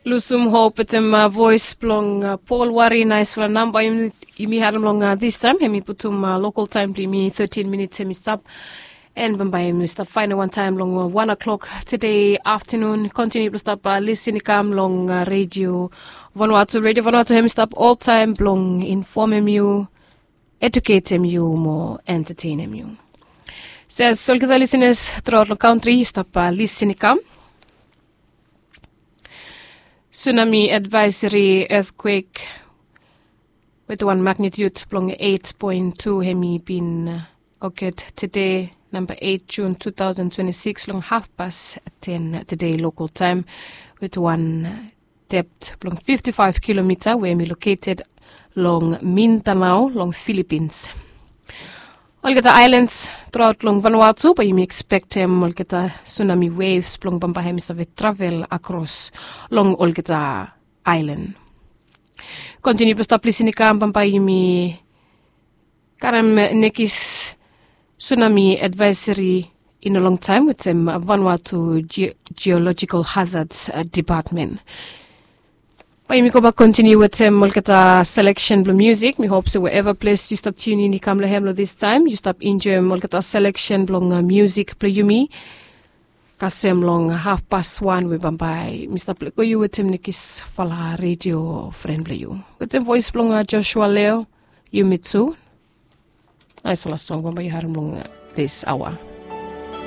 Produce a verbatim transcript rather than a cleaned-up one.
Lusum hop wetem voes blong Pol Wari, naisfala namba yumi harim long distaem. Hem i putum lokal taem blong yumi thirteen minits hem i stap. En bambae yumi stap faenem wantaem long wan o'clock tede aftenun. Kontiniu blong stap lisin i kam long redio Vanuatu. Redio Vanuatu hem i stap oltaem blong infomem yu, eduketem yu mo entetenem yu. So as olgeta lisinas truaot long kantri yu stap lisin i kam, sunami advaeseri etkwek wetem wan magnitiud blong eit poen tu hem i bin oket tede, namba eit jun tu taosen twenti sikis, long hafpas ten tede lokal taem, wetem wan dept blong fifti faef kilomita we hem i loketed long Mindanao long Filipins. Olgeta aelans truaot long Vanuatu bae yumi ekspektem olgeta sunami wevs blong bambae hem i save travel akros long olgeta aelan. Kontiniu blong stap lisin i kam, bambae yumi karem nekis sunami advaeseri i no longtaem wetem Vanuatu Geolojikal Hazards Depatmen. Bae yumi gobak kontiniu wetem olgeta seleksen blong musik. Mi hop se wherever ples yu stap tiunin i kam long hem long distaem yu stap enjoem olgeta seleksen blong musik blong yumi. Kasem long hafpas wan we bambae mi stap lego yu wetem nekisfala redio fren blong yu wetem voes blong Joshua Leo. Yumi tu, naisfala song bambae yu harim long this aoa.